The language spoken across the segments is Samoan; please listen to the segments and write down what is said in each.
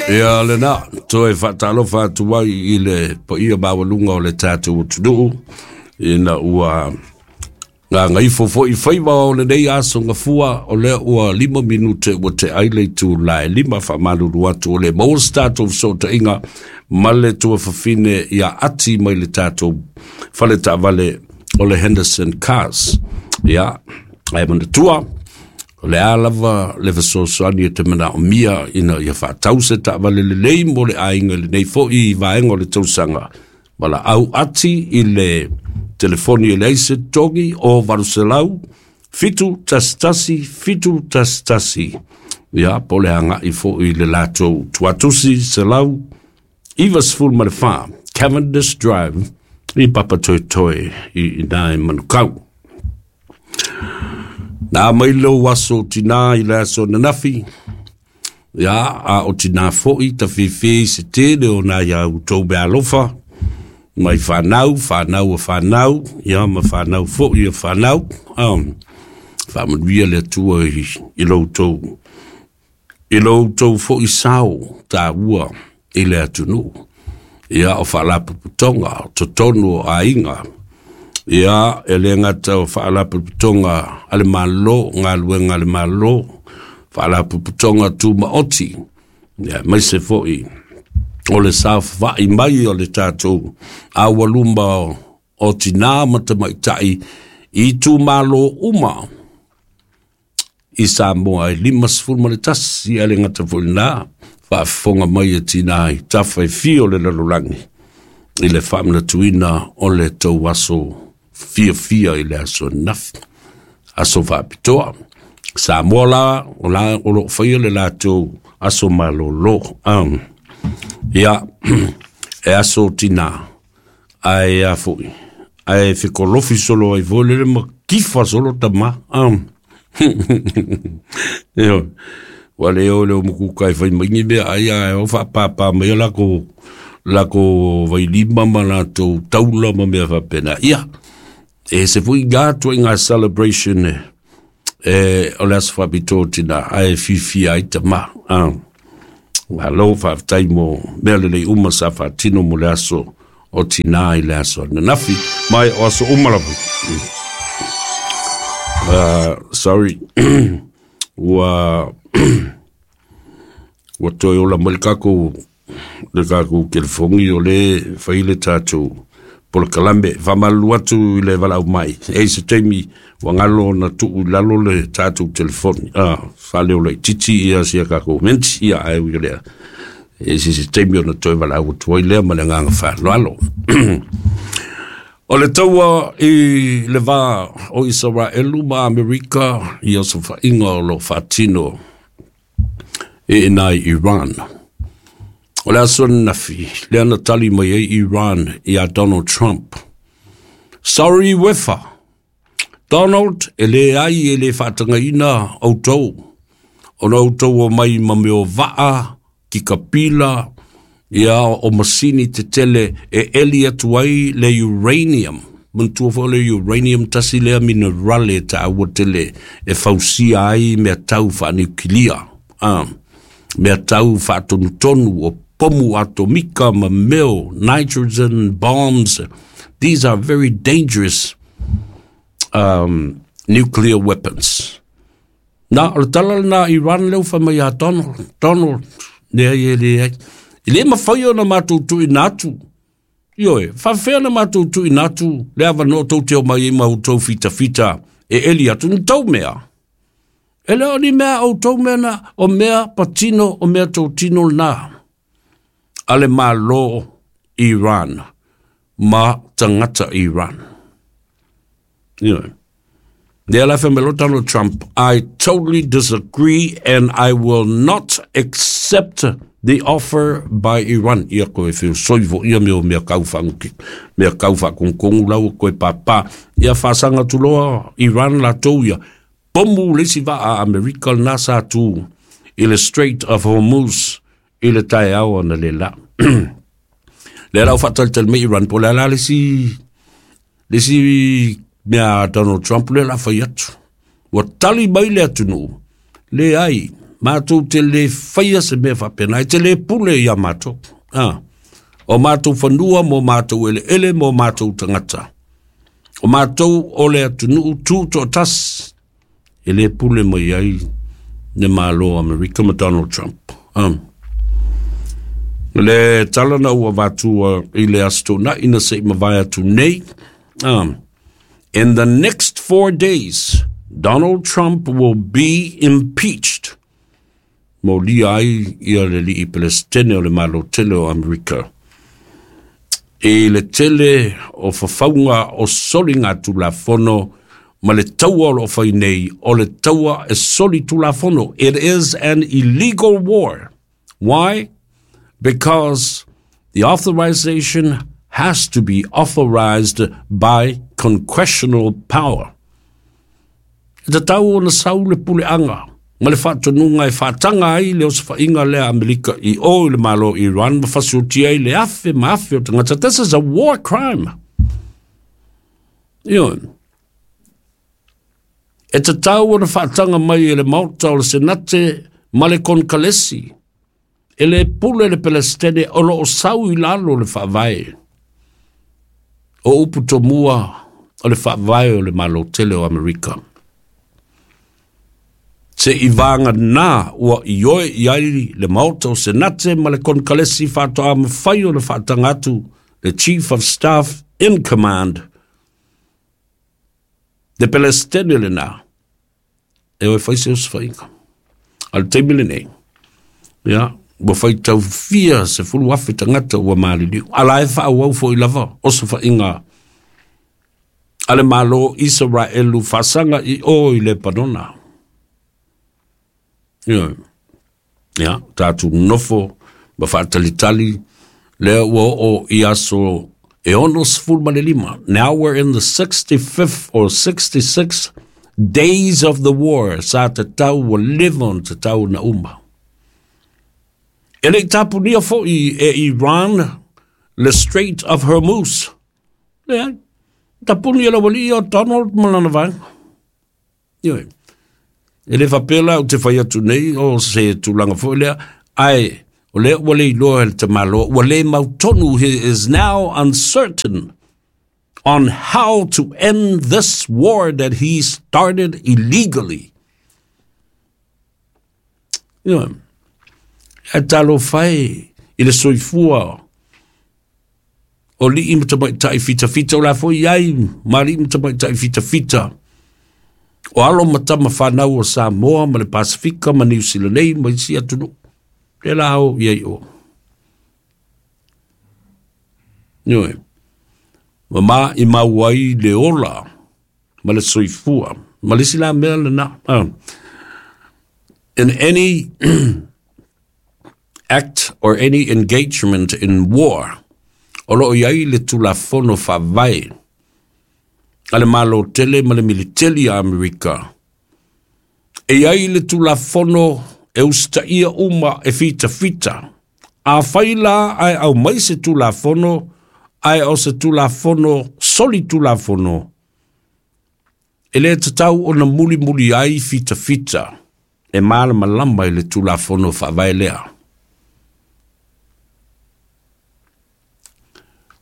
Ia lena, toe faatalofa atu ai i le paia maualuga o le tatou atunuu, ina ua gagaifo foi faiva o lenei aso gafua, o lea ua 5 minute ua te ai le itula e 5. Faamalulu atu, o le maua se tatou fesootaiga ma le tuafafine ia Ati mai le tatou fale taavale o le Henderson Cars. Ia, ae manatua, o le a lava le fesoasoani e te manaomia ina ia faatau se taavale lelei mo le aiga i lenei foi vaega o le tausaga, valaau Ati i le telefoni e leai se togi o 800 711 711. Ia, po o le agai foi i le latou tuatusi 194 Cavendish Drive i Papatoetoe i ina i Manukau. Na mai lou aso tinā i le aso nanafi, ia, a o tinā foi tafifi se tele o nā ia utou mealofa, mai whanau, whanau a whanau, ia ma whanau foi a whanau, faamanuia le Atua i lo outou, i lo outou foi sao taua i le atunuu. Ia, o faalapotopotoga, o totonu o aiga. Ia, e le gata o faalapotopotoga a le Malo, galuega a le Malo, faalapotopotoga tumaoti, ia, aemaise foi o le saofafai mai o le tatou aualuma o tinā ma tamaitai i itumalo uma i Samoa e 51. A le gata foi lena, faafofoga mai e tinā i tafa e fia o le lalolagi i le faamanatuina o le tou aso fiafia i le aso nafi, aso faapitoa. Samoa la, o la o lo o faia le latou aso malolo. Ia, e aso tinā, ae a foi, ae fekolofi solo ai foi lele ma kifa solo tama. Io, ua le o le o mukuka e fai mai ni mea ai ae o faapāpā mai lako vailima ma latou taula ma mea faapena. Ia, e se foi ngā tua i ngā celebration e o le aso faapitoa o tinā, ae fiafia ai tama. Malo faafetai mo mea lelei uma sa faatino mo le aso o tinā i le aso ananafi, mai o aso uma lava. Sorry, ua toe ola mai le kakou telefoni o le fai le tatou polokalame. Faamalulu atu i le valaau mai, e se taimi ua galo ona tuu i lalo le tatou telefoni, faaleo laitiiti ia sia kakou menti. Ia, ae ui o lea, e se taimi ona toe valaau atu ai lea ma le agaga faaaloalo. O le taua i le va o Isaraelu ma Amerika i osofaiga o lo faatino e ina i Iran. O le aso nafi, lea na tali mai ai Iran ia Donald Trump. Sorry wefa. Donald, e le ai e le faatagaina outou. Ona outou o mai ma meo vaa, ki kapila, ia o masini tetele e eli atu ai le uranium. Manatua foi le uranium tasi lea minerale taua tele e fausia ai mea tau faaniukilia. Mea tau faatonutonu o pomu atomika ma meo, nitrogen bombs. These are very dangerous nuclear weapons. Na, o le tala lena Iran leu fai mai ia Donald, Donald, leai e leai. E le mafai ona matou tuuina atu. Ioe, faafefea na matou tuuina atu le avanoa tou te omai ai ma outou fitafita e eli atu ni tou mea. E le o ni mea outou mea na, o mea patino, o mea totino lena. A le Malo Iran ma tagata Iran. Ioe. Lea la fai mai Donald Trump, "I totally disagree and I will not accept the offer by Iran." Ia koe feosoi fo ia mea o mea kau whanguki, mea kau whakonkongu lau koe pāpā. Ia whasanga tuloa Iran latou ia. Pomu le isi vaa Amerika lena sa tu i le Strait of Hormuz i le taeao na le la. Lea lau faatalitali mai Iran po le ala le isi mea Donald Trump lea la fai atu. Ua tali mai le atunuu. Le ai, Matou te le faia se mea faapena, e te le pule ia matou. O matou fanua mo matou eleele mo matou tagata. O matou o le atunuu tutoatasi, e le pule mai ai le Malo o Amerika ma Donald Trump. Le tala na ua avatua i le Aso Toonai na se i mavae atu nei. In the next 4 days, Donald Trump will be impeached. Molia ai ia le alii Pelesitene o le Malo tele o Amerika. I le tele o fafauga o soliga tulafono ma le taua o lo o fai nei, o le taua e soli tulafono. It is an illegal war. Why? Because the authorization has to be authorized by congressional power. E tatau ona sau le puleaga ma le faatonuga e faataga ai le osofaiga lea a Amerika i o i le Malo o Iran ma fasioti ai le afe ma afe o tagata. This is a war crime. Ioe. E tatau ona faataga mai e le Maota o le Senate ma le Konekalesi. E le pule le Pelesitene o lo o sau i lalo le faavae. O upu tomua o le faavae o le Malo tele o Amerika. Se i vaga na ua ioe i ai le Maota o Senate ma le Konekalesi faatoa mafai ona faataga atu le Chief of Staff in Command. Le Pelesitene lena, e o e fai se osofaiga. A le taimi lenei, ia, ua faitau fia 10,000 tagata ua maliliu. A la e faaauau foi lava osofaiga a le Malo Isaraelu faasaga i o i Lepanona. Ia, ia tatou nofo ma faatalitali lea ua oo i aso e 65. Now we're in the 65th or 66th days of the war. Sa tatau ua leva ona tatau na uma. E le i tapunia foi e Iran le Strait of Hormuz. Leai, tapuni e le aualii o Donald ma lana vaega. Ioe. E le faapea la ou te fai atu nei o se tulaga foi lea, ae o lea ua le iloa e le tamaloa, ua le mautonu, he is now uncertain on how to end this war that he started illegally. Ioe. Ae talofa e i le soifua o alii ma tamaitai fitafita o la foi ai ma alii ma tamaitai fitafita o alo ma tama fanau o Samoa ma le Pasifika ma Niu Sila nei ma isi atunuu. Le la o i ai o. Ioe. Ma ma i mau ai le ola ma le soifua. Ma le isi la mea lena. In any act or any engagement in war, o lo o i ai le tulafono faavae a le Malo tele ma le militeli a Amerika. E i ai le tulafono e usitaia uma e fitafita. Afai la ae aumai se tulafono, ae o se tulafono soli tulafono, e le tatau ona mulimuli ai fitafita e malamalama i le tulafono faavae lea.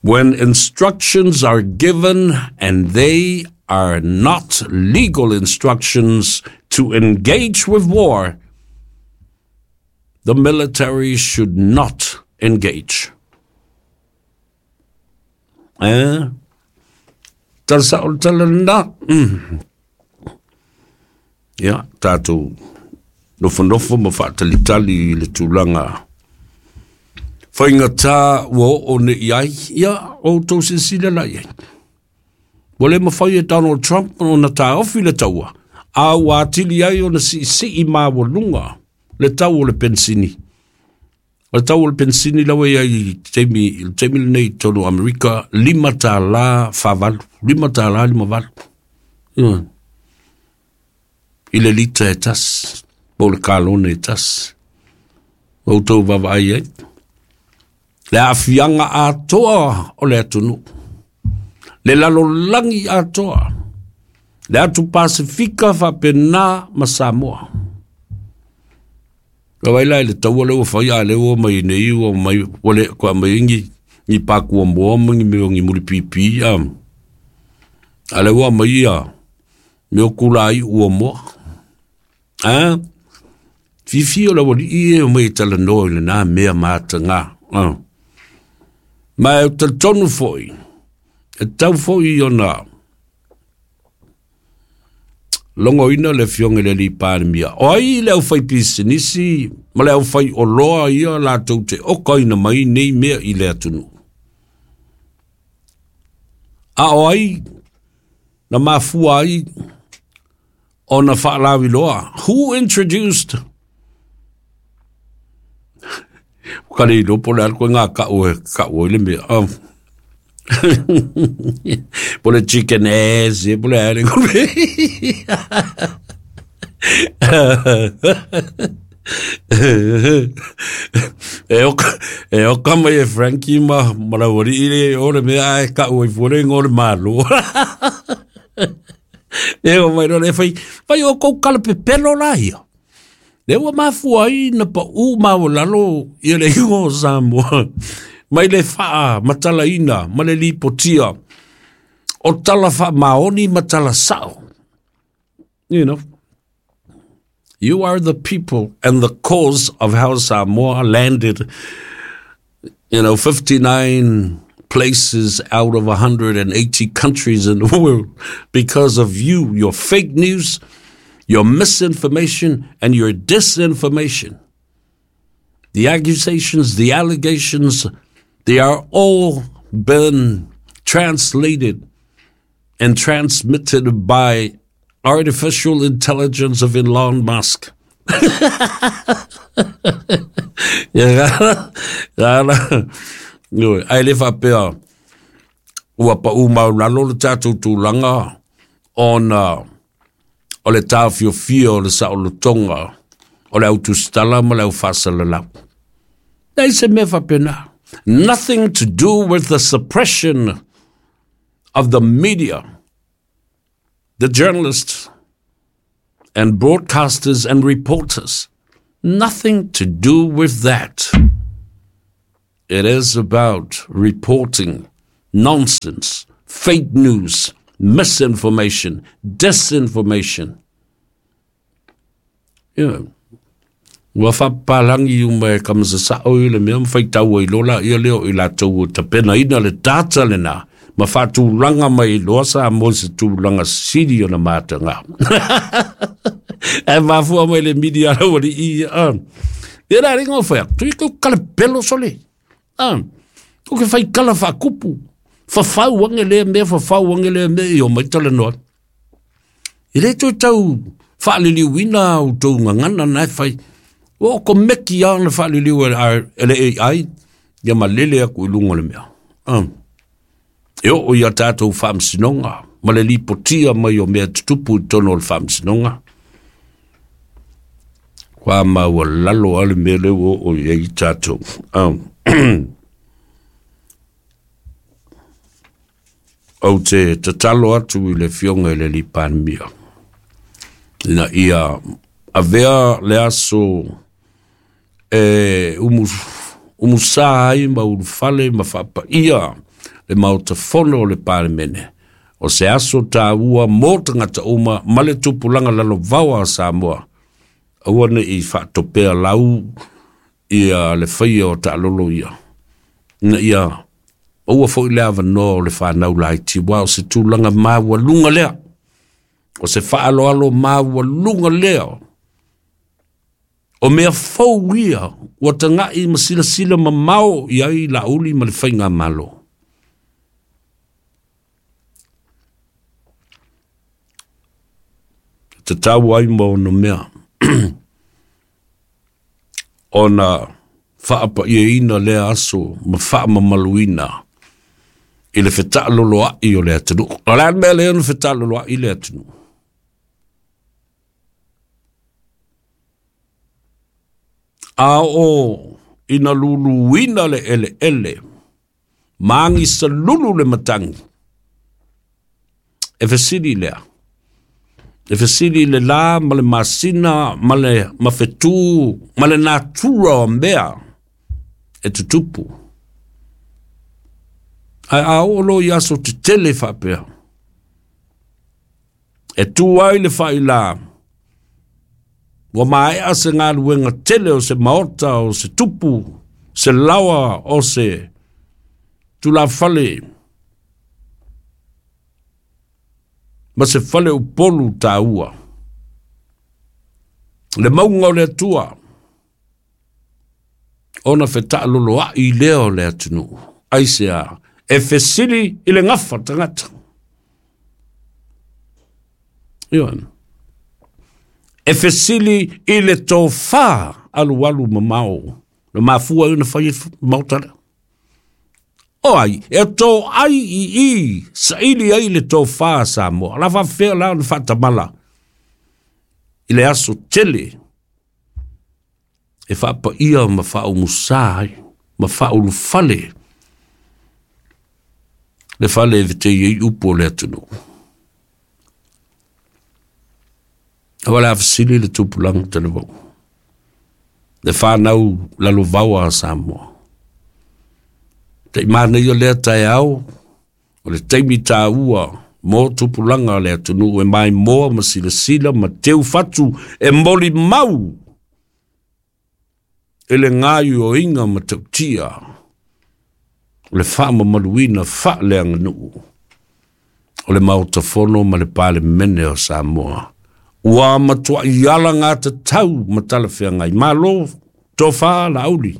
When instructions are given and they are not legal instructions to engage with war, the military should not engage. Eh? Tala sao le tala lena. Ia, tatou nofonofo ma faatalitali i le tulaga faigata ua oo nei i ai, ia, o outou silasila la i ai. Ua le mafai e Donald Trump ona taofi le taua, a ua atili ai ona siisii maualuga le tau o le penisini. O le tau o le penisini la ua i ai i taimi, i le taimi lenei i totonu o Amerika, $5 48, $5.58. Ioe. I le lita e tasi, po o le kalone e tasi. Ua outou vaavaai ai. Le aafiaga atoa o le atunuu. Le lalolagi atoa. Le atu Pasifika faapena ma Samoa. Ka vai la i le taua lea ua fai a lea ua mai nei ua mai ua le kwa mai ngi ni pakua moa ma ni mea o ni mulipipi a. A lea ua mai ia mea o kula iu ua moa. A fifi o le aualii e o mai e talanoa i lena mea mataga. Ma e talitonu foi, e tatau foi ona logoina le afioga i le alii Palemia. O ai le aufaipisinisi ma le aufaioloa ia latou te okaina mai nei mea i le atunuu? A o ai na mafua ai ona faalaviloa? Who introduced? Ka le iloa po o le a le koe ngā kau e kau ai le mea. Oh. Po le chicken ass, ia po le a le E oka, e oka mai e Frankie ma, ma laualii le o le mea ae kau ai fua le ingoa o le Malo. E o mai loa le fai, fai o kou kala pepelo la ia. Le ua mafua ai na paʻū maualalo ia le iuga o Samoa mai le faamatalaina ma le lipotia o tala faamaoni ma tala sao. You know, you are the people and the cause of how Samoa landed, 59 places out of 180 countries in the world because of you, your fake news, your misinformation, and your disinformation. The accusations, the allegations, they are all been translated and transmitted by artificial intelligence of Elon Musk. Ia gala, ae le faapea ua paʻū maualalo le tatou tulaga ona o le taofiofia o le saolotoga o le autusitala ma le aufaasalalau. Leai se mea faapena. Nothing to do with the suppression of the media, the journalists and broadcasters and reporters. Nothing to do with that. It is about reporting nonsense, fake news, misinformation, disinformation. You know, ua faapapalangi uma e kamasasao i le mea ma faitau ai loa laia lea o i latou o tapenaina le data lena ma faatulaga mai loa Samoa i se tulaga sili ona mataga. Ae mafua mai le media a laualii ia. Ia la ringa o whai atu, tui kau kalepelo sole. Ko ke whai kala whakupu. Whawhau ange lea mea, whawhau ange lea mea, i o mai tala noa. E le toe tau whaaliliuina au tau ngangana na e whai. O ko meki a na whaaliliu e le AI, ia ma lele aku i lunga le mea. E oo ia tātou whaamsinonga, ma le lipotia mai o mea tutupu i tono o le whaamsinonga. Kua maua lalo ale mea leo o o i ai tātou. Ou te tatalo atu i le fionga i le Palemia. Ina ia avea le aso e umusā ai ma ulufale ma faapaia le maota fono o le Palemene. O se aso tāua mō tagata uma ma le tupulaga lalovaoa a Samoa. Aua ne i faatopea lau ia le faia o taalolo ia. Ina ia aua foi le avanoa o le whanau laiti wa o se tulaga maualuga lea. O se faaloalo maualuga lea. O mea fou ia ua tagai ma silasila mamao i ai Laauli ma le faigamalo. Tatau ai ma ona mea ona faapaiaina lea aso ma faamamaluina i le fetaaloloai o le atunuu. O le a le mea lea na fetaaloloai le atunuu? A o ina luluina le eleele, ma agisalulu le matagi, e fesili lea. E fesili i le la ma le masina ma le mafetū ma le natura o mea e tutupu. Ae a oo loa i aso tetele faapea, e tu ai le faila, ua maea se galuega tele o se maota, o se tupu, se laoa, o se tulafale, ma se fale upolu taua. Le mauga o le Atua, ona fetaaloloai lea o le atunuu. Aisea? E fesili i le gafa tagata. Ioe. E fesili i le tofa alualu mamao. Le mafua ai ona fai e maota lea. O ai, e toai i i, saili ai le tofa a Samoa. La faafefea la ona faatamala i le aso tele e faapaia ma faaumusa ai, ma faaulufale le fale e vetei ai upu o le atunuu. Aua le a fesili le tupulaga talavou, le fanau lalovaoa a Samoa. Taimanaia lea taeao, o le taimi taua mo tupulaga o le atunuu e maimoa ma silasila ma teufatu e molimau e le gaioiga ma tautia o le faamamaluina faaleaganuu o le Maota Fono ma le Palemene o Samoa. Ua matuai alagatatau ma talafeagai. Malo, tofa Laauli.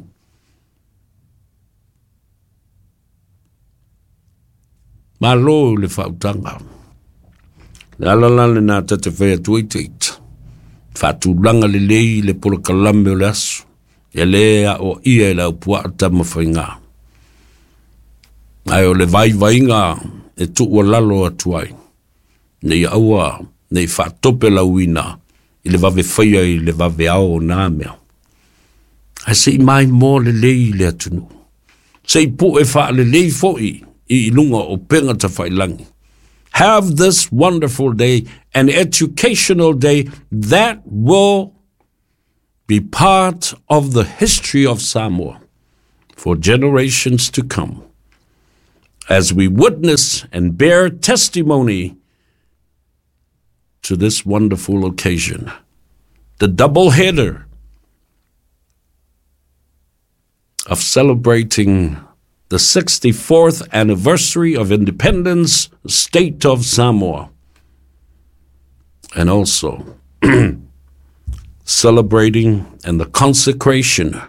Malo le faautaga. Le ala la lena ta te fai atu ai teita. Faatulaga lelei le polokalame o le aso. E le aoaia e le aupuaa tamafaiga. Ae o le vaivaiga e tuualalo atu ai. Nei aua, nei faatope lauina i le vave faia i le vave ao o nā mea. Ae se i maimoa lelei le atunuu. Se i pue faalelei foi i luga o upega tafailagi. Have this wonderful day, an educational day that will be part of the history of Samoa for generations to come, as we witness and bear testimony to this wonderful occasion. The double header of celebrating the 64th anniversary of independence, state of Samoa, and also celebrating and the consecration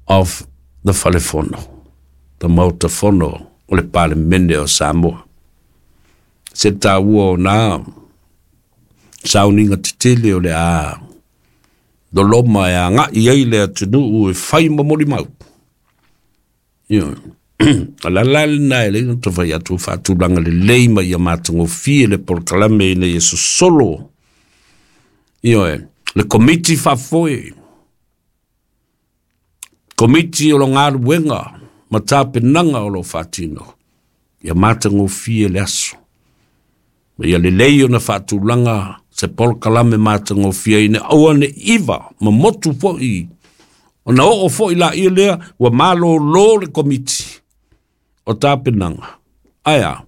of the Falefono, the Maota Fono o le Palemene o Samoa. Se taua o nā sauniga tetele o le a loloma e agai ai le atunuu e fai ma molimau. Ioe. O le ala lena e lei ona tafai atu faatulaga lelei ma ia matagofie le polokalame ina ia sosolo. Ioe. Le komiti faafoe, komiti o lo galuega ma tapenaga o lo faatino, ia matagofie le aso. Ma ia lelei ona faatulaga se polokalame matagofie ina aua ne iva ma motu foi ona oo foi laia lea ua malōlō le komiti o tapenaga. Ae a?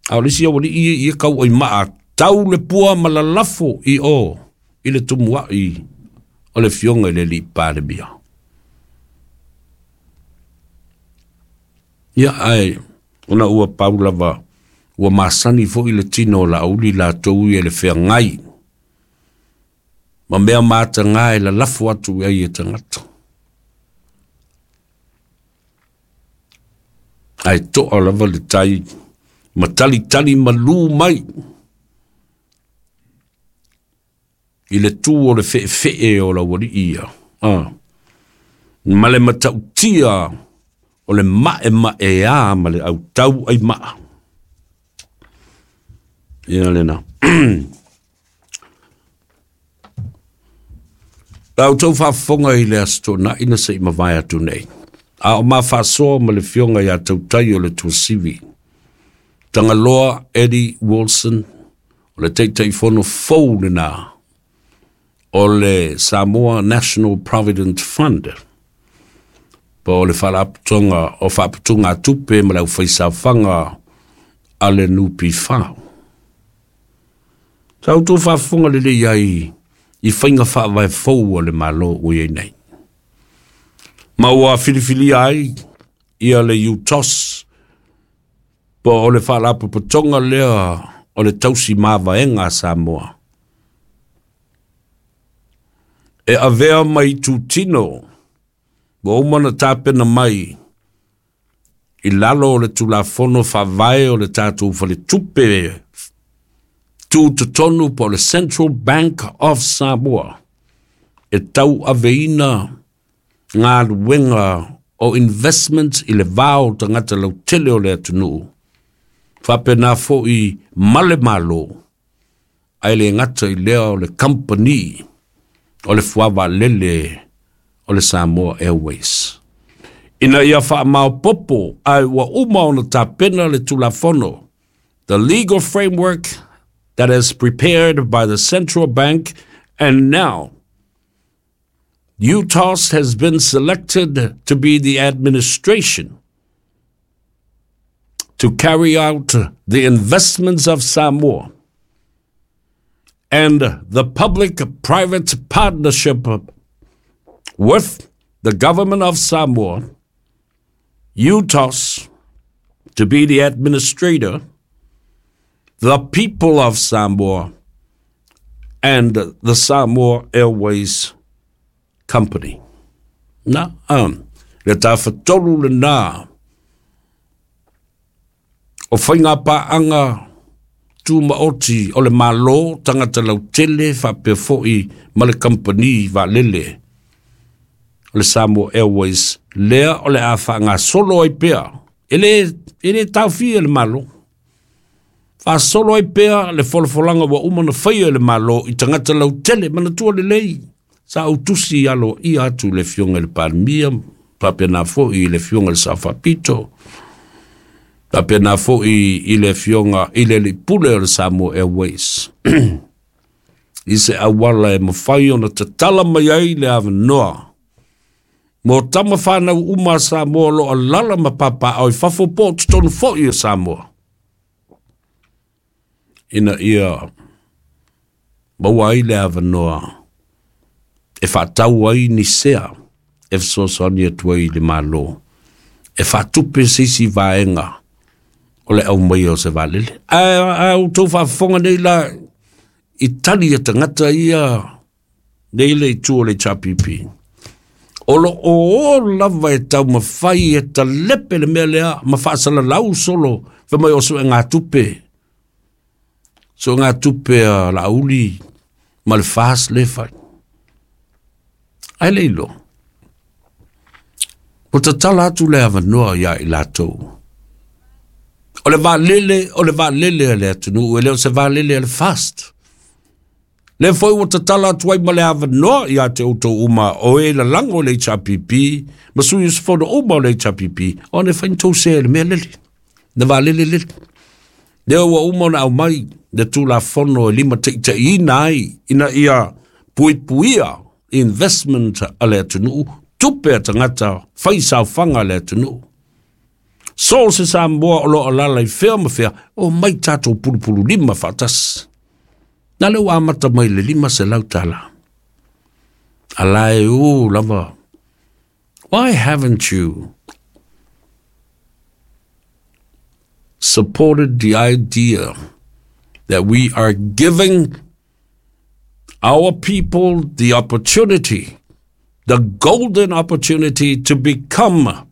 A o le isi aualii ia ia kau ai maa tau le pua ma lalafo i o i le tumuai o le Afioga i le Alii Palemia. Ia, ae ona ua pau lava ua masani foi le tino o Laauli latou ia i le feagai ma mea mataga e lalafo atu i ai e tagata. Ae toa lava le tai ma talitali malū mai i le tu o le feefee o laualii ia. Ah. Ma le matautia o le maemaea ma le autau ai maa. Ia lena. La outou faafofoga i le Aso Toonai na se i mavae atu nei. A o ma faasoa ma le Afioga ia Tautai o le Tuasivi, Tagaloa Eddie Wilson O le Taitaifono fou lenā o le Samoa National Provident Fund, po o le Faalapotopotoga o Faaputugatupe ma le Aufaisaofaga a le NPF. Sa outou faafofoga lelei ai i faiga faavae fou a le Malo ua i ai nei, ma ua filifilia ai ia le UTOS, po o le Faalapotopotoga lea o le Tausi Mavaega a Samoa, e avea mai itutino ua uma ona tapena mai i lalo o le Tulafono Faavae o le tatou Faletupe Tutotonu po o le Central Bank of Samoa, e tauaveina galuega o investment i le va o tagata lautele o le atunuu, faapena foi ma le Malo, ae le gata i lea o le kamupani o le fuavaalele o le Samoa Airways. Ina ia faamaopoopo ae ua uma ona tapena le Tulafono, the legal framework that is prepared by the Central Bank, and now UTOS has been selected to be the administration to carry out the investments of Samoa and the public-private partnership with the government of Samoa, UTOS to be the administrator, the people of Samoa, and the Samoa Airways Company. Na, le tafatolu lenā o faiga paaga tumaoti o le Malo, tagata lautele, faapea foi ma le kamupani vaalele o le Samoa Airways, lea o le a faagasolo ai pea, e le taofia le Malo, faasolo ai pea le folafolaga ua uma ona faia e le Malo i tagata lautele. Manatua lelei, sa ou tusi aloaia atu le Afioga i le Palemia, faapena foi i le Afioga i le Sao Faapito, faapena foi i le Afioga i le Alii Pule o le Samoa Airways, i se auala e mafai ona tatala mai ai le avanoa mo tama fanau uma a Samoa o lo o alaala ma papaaao i fafo po o totonu foi o Samoa, ina ia maua ai le avanoa e faatau ai ni sea e fesoasoani atu ai i le Malo e faatupe se isi vaega o le aumaia o se vaalele. Ae outou faafofoga nei la i tali a tagata ia nei le itu o le HRPP. O lo o lava e taumafai e talepe le mea lea ma faasalalau solo fai mai o suegatupe. Suegatupe a Laauli ma le FAST le fai. Ae le iloa. Ua tatala atu le avanoa ia i latou. O le vaalele, o le vaalele a le atunuu, e le o se vaalele a le FAST. Le foi ua tatala atu ai ma le avanoa ia te outou uma o e lalago o le HRPP, ma sui usufono uma o le HRPP, ona e fai ni tou sea i le mea lele, le vaalele lele. Lea ua uma ona aumai le Tulafono e limataitaiina ai ina ia puipuia investment a le atunuu, tupe a tagata fai saofaga a le atunuu. So se Samoa o lo o alaala i fea ma fea, o mai tatou pulupulu lima faatasi. Na le ua amata mai le $500. A la e u lava. Why haven't you supported the idea that we are giving our people the opportunity, the golden opportunity to become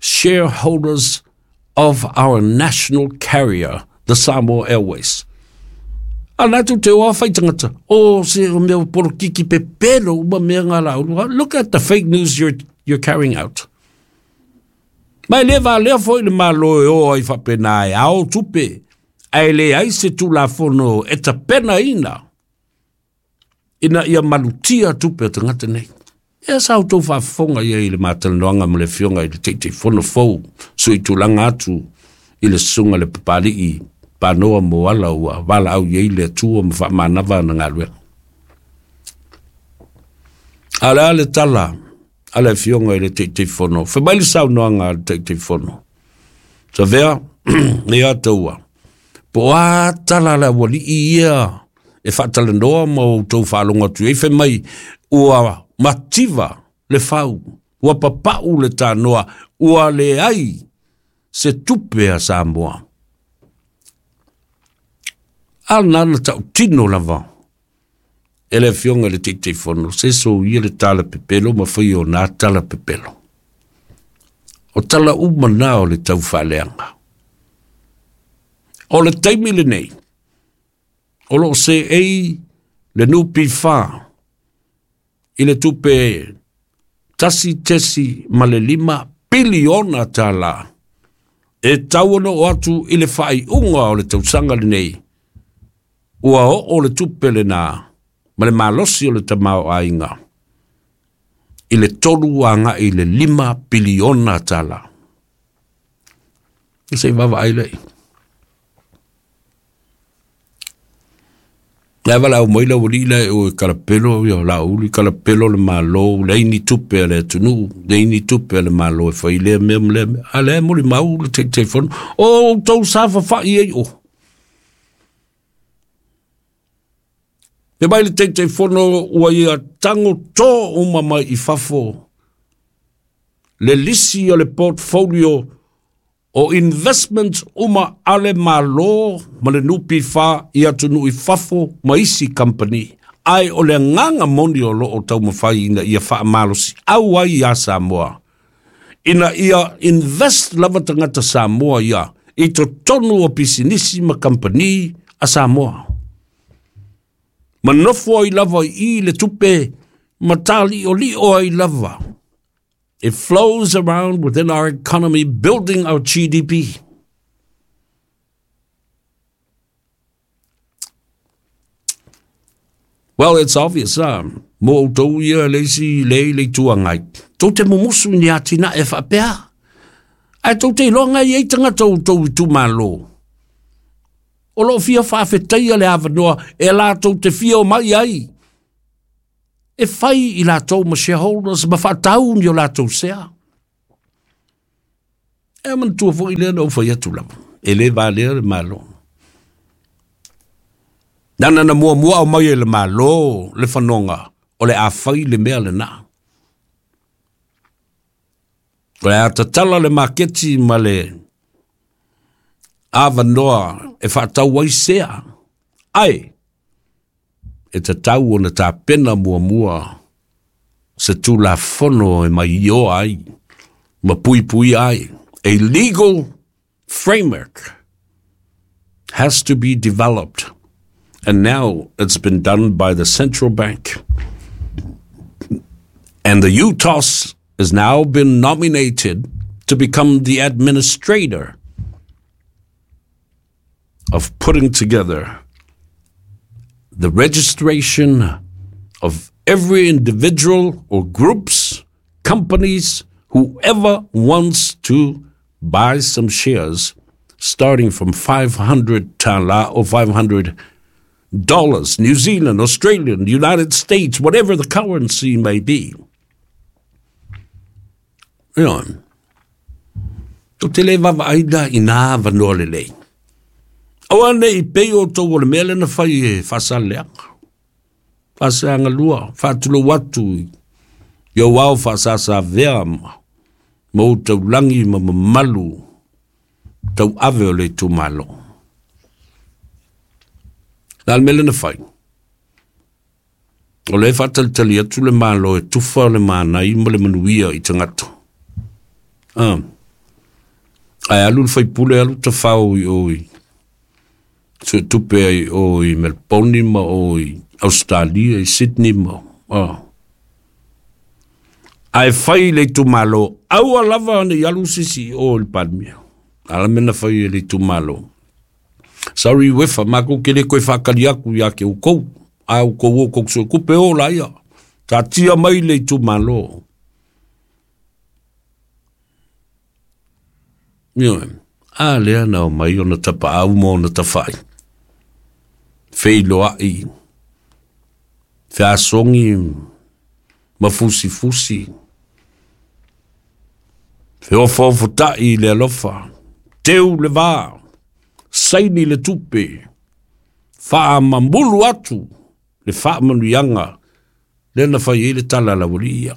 shareholders of our national carrier, the Samoa Airways? A na tu te oa whai tangata, o se o mea porokiki pepelo uma mea ngā la. Look at the fake news you're carrying out. Mai le va lea foi le Malo e o ai whapena e ao tupe, ae le ai se Tulafono e tapena ina, ina ia malutia tupe o tagata nei. Ia sa outou faafofoga ia i le matalanoaga ma le Afioga i le Taitaifono fou, sui tulaga atu i le susuga le Papalii panoa mo ala ua valaau i ai le Atua ma faamanava ana galuega. A o le a le tala a le Afioga i le Taitaifono? Fai mai le saunoaga a le Taitaifono, Savea, ia taua, po o a tala a le aualii ia e faatalanoa ma outou faalogo atu i ai, fai mai ua mativa le fau, ua papau le tanoa, ua leai se tupe a Samoa. A lena na tautino lava e le Afioga i le Taitaifono, se soia le tala pepelo ma fai o nā tala pepelo. O tala uma na o le taufaaleaga. O le taimi lenei, o loo seei le NPF i le tupe 1.5 piliona tālā e tau ona oo atu i le faaiuga o le tausaga lenei, ua oo le tupe lena ma le malosi o le tamaoaiga i le 3 agai i le 5 piliona tālā. Se i vaavaai lea. Le valaau mai le aualii lea e o e kalapelo, ia Laauli, kalapelo le Malo, leai ni tupe a le atunuu, leai ni tupe a le Malo e fai lea mea ma lea mea. A lea e molimau le Taitaifono, o outou safafa'i ai o. Fai mai le Taitaifono ua ia tago tō uma mai i fafo le lisi o le portfolio o investments uma a le Malo ma le NPF i atunuu i fafo ma isi company. Ae o le agaga moni o loo taumafai ina ia faamalosiau ai iā Samoa, ina ia invest lava tagata Samoa ia i totonu o pisinisi ma kamupani a Samoa. Ma nofo ai lava i i le tupe ma tāliʻoliʻo ai lava. It flows around within our economy, building our GDP. Well, it's obvious, mo outou ia le isi le i le Itu Agai. Tou te mumusu i ni atinae faapea. Ae tou te iloa e i ai tagata o outou itumalo o loo fia faafetaia le avanoa e latou te fia omai ai e fai i latou ma shareholders ma faatau ni o latou sea. E manatua foi lea na ou fai atu lava, e le valea le Malo. Nana na muamua au mai e le Malo le fanoga o le a fai le mea lena. O le a tatala le maketi ma le avanoa e faatau ai sea. Ae, e tatau ona tapena muamua se Tulafono e maioa ai ma puipuia ai. A legal framework has to be developed. And now it's been done by the central bank. And the UTOS has now been nominated to become the administrator of putting together the registration of every individual or groups, companies, whoever wants to buy some shares, starting from 500 tala or $500, New Zealand, Australian, United States, whatever the currency may be. Tou te le vaavaai la i nā avanoa lelei. Aua ne i pei outou o le mea lea na fai e Faasaleleaga. Faaseagalua, faatulou atu i ou ao faasasavea ma ou taulagi ma mamalu tauave o le itumalo. Le a le mea lea na fai? O lea e faatalitali atu le Malo e tufa le manai ma le manuia i tagata. Ah. Ae alu le faipule alu tafao i o i suetupe ai o i Melbourne ma o i Australia i Sydney ma ah. Ae fai le itumalo, aua lava ne i alu se isi i o i le Palemia. A la mea na fai e le itumalo. Sorry Wefa, matou te le toe faatali atu ia te outou. A outou o tou suetupe o laia. Taatia mai le itumalo. Ioe. A lea na omai ona tapaau ma ona tafai, feiloai, feasogi ma fusifusi, feofaofotai i le alofa, teu le va, saini le tupe, faamamulu atu le faamanuiaga lea na fai ai le tala a le aualii ia.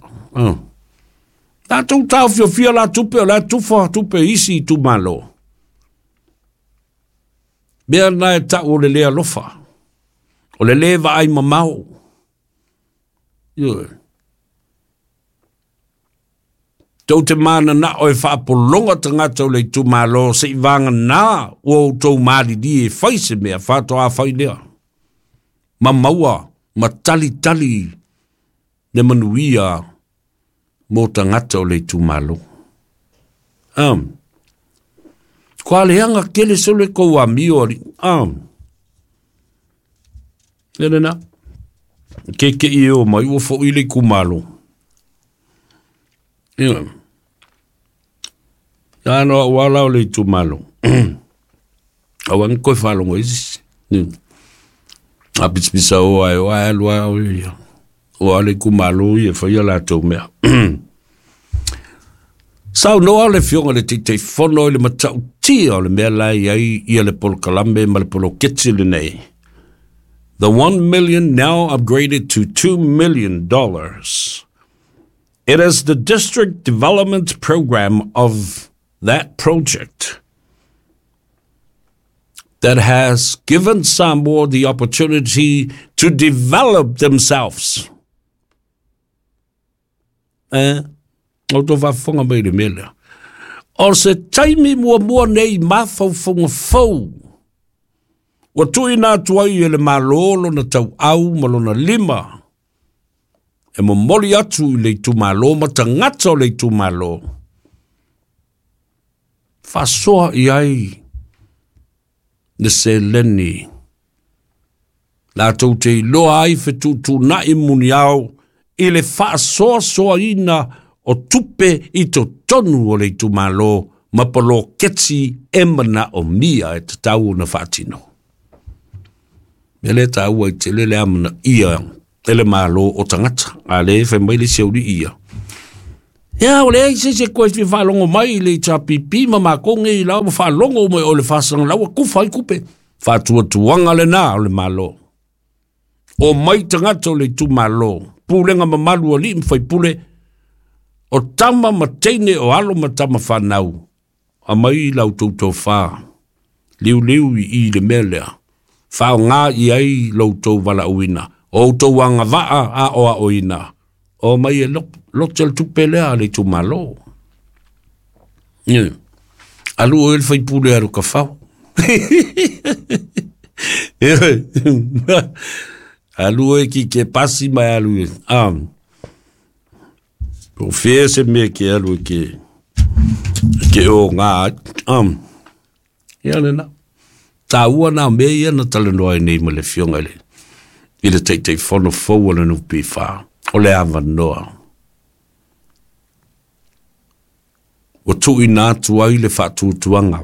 Tatou taofiofia la tupe o le a tufa tupe i isi itumalo. Mea na e tau o le le alofa, o le le vaai mamao. Ioe. Tou te mananao e faapologa tagata o le itumalo seivagana ua outou malilie e fai se mea faatoa fai lea. Ma maua ma talitali le manuia mo tagata o le itumalo. Kua leaga tele solo e kou amio ali. Le lena. Ke ke i o mai ua fo i le itumalo. Ia. Ia no au ala o le itumalo. Au angi koe whalongo isi. A pisipisa o ai o ai alua o ia. O ale itumalo ia whaia latou mea. Saunoa le Afioga i le Taitaifono i le matautia o le mea la e i ai ia le polokalame ma le poloketi lenei. The 1 million now upgraded to $2 million. It is the district development program of that project that has given Samoa the opportunity to develop themselves. O tō faafofoga mai i le mea lea. O se taimi muamua nei mafaufauga fou ua tuuina atu ai e le Malo lona tauau ma lona lima e momoli atu i le itumalo ma tagata o le itumalo faasoa i ai le seleni latou te iloa ai fetuutuunai muniao i le faasoasoaina o tupe i totonu o le itumalo ma poloketi e manaomia e tatau ona faatino. Mea lea e taua ai tele le amanaia e le Malo o tagata. A lea e fai mai le isi aualii ia. Ia, ua leai se isi e toe fia faalogo mai i le HRPP ma matou nei la ua faalogo uma i o i le faasagalau ua tufa ai tupe. Faatuatuaga lena o le Malo. Omai tagata o le itumalo, pulega mamalu a alii ma faipule, o tama ma teine o alo ma tama fanau, aumai la outou tofa, liuliu i i le mea lea, faaaoga i ai lo outou valaauina, o outou agavaa aoaoina, omai e lote le tupe lea a le itumalo. Alu oe le faipule alu kafao. Alu oe ki ke pasi mai alu e. Po fea se mea ke alu e ke o ngā ai. Ia lena. Tāua nā mea ia na talanoa ai nei ma le Afioga i le i le Taitaifono fou o le NPF. O le avanoa. Ua tuuina atu ai le faatuatuaga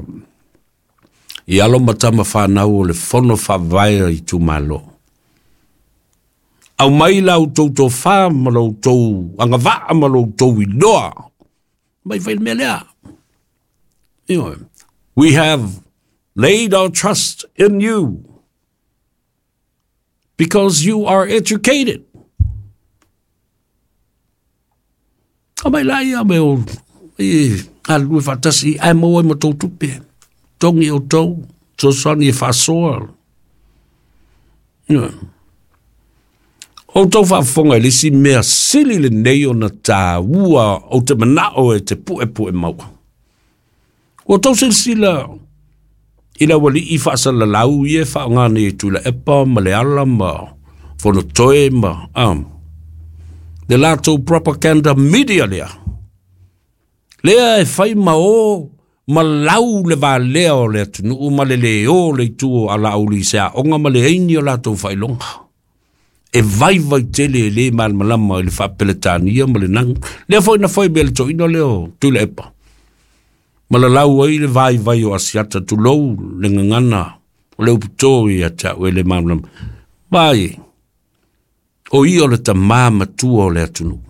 i alo ma tama fanau o le Fono Faavae a Itumalo. Aumai la outou tofa ma lo outou agavaa ma lo outou iloa. Mai fai le mea lea. Ioe. We have laid our trust in you because you are educated. Aumai la ia me o e galulue faatasi ae maua ai ma tou tupe. Togi outou, fesoasoani e faasoa. Ioe. Outou faafofoga i le isi mea sili lenei ona taua ou te manao e te puepue maua. Ua outou silasila i le aualii faasalalau ia e faaaoga nei e Tuilaepa ma Leala ma Fonotoe ma le latou propaganda media lea. Lea e fai ma o ma lau le valea o le atunuu ma le le o le itu o Alauli i se aoga ma le aini o latou faailoga. E vaivai tele e le malamalama i le faa-Peretania ma le nanu. Lea foi na fai mea le toeaina lea o Tuilaepa. Ma lalau ai le vaivai o Asiata, tulou le gagana o le upu ia te au e le malamalama. Vaai e, o ia o le tamā matua o le atunuu.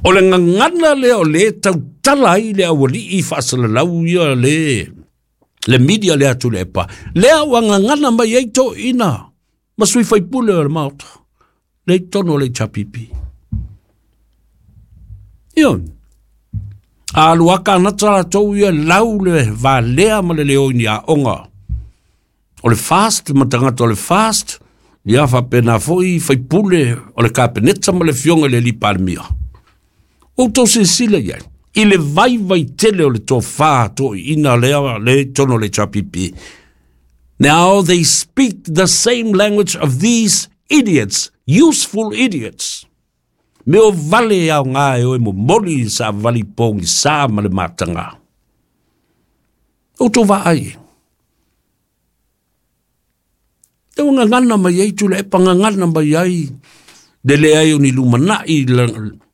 O le gagana lea o le tautala ai le aualii faasalalau ia le media le atu le epa. Lea ua gagana mai ai toeaiina ma sui faipule o le Maota. Le i totonu o le HRPP. Ioe. A alu lava kanata latou ia lau le valea ma le leo i ni aoga o le FAST ma tagata o le FAST, ia faapena foi faipule o le Kapeneta ma le afioga i le alii Palemia. Ua outou silasila i ai i le vaivai tele o le tofa toeaiina lea le i totonu o le HRPP. Now they speak the same language of these idiots, useful idiots. Mea o vale e aoga e o e momoli i savali pogisa ma le mataga. Outou vaai e. E ua gagana mai ai Tuilaepa, gagana mai ai le leai o ni lumanai,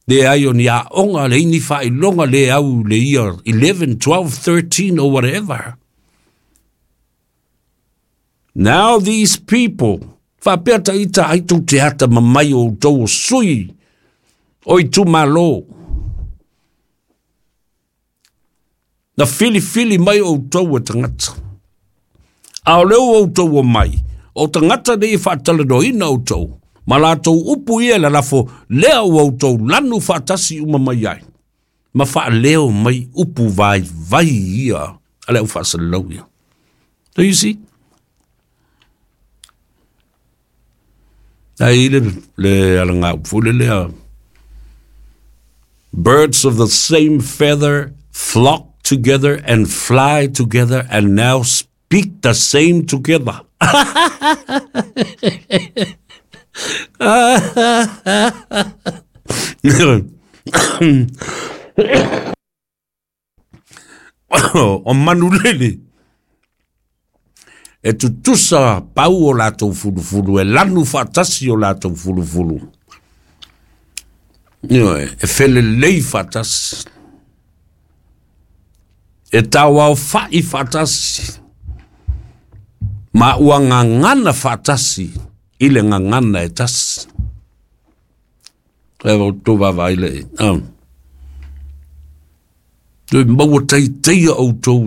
leai o ni aoga, leai ni faailoga, le au i le year 11, 12, 13 or whatever. Now these people, faapea ta ita ai tou te atamamai o outou o sui o itumalo. Na filifili mai outou e tagata. A o lea ua outou omai, o tagata nei e faatalanoaina outou, ma latou upu ia e lalafo, lea ua outou lanu faatasi uma mai ai, ma faaleo mai upu vaivai ia a le aufaasalalau ia. Do you see? Ai le alagaupu foi lea, birds of the same feather flock together and fly together and now speak the same together. O manulele e tutusa pau o latou fulufulu, e lanu faatasi o latou fulufulu. Ioe, e felelei faatasi. E tauaofa'i faatasi. Ma ua gagana faatasi i le gagana e tasi. E outou vaavaai le. Toe maua taitaia outou.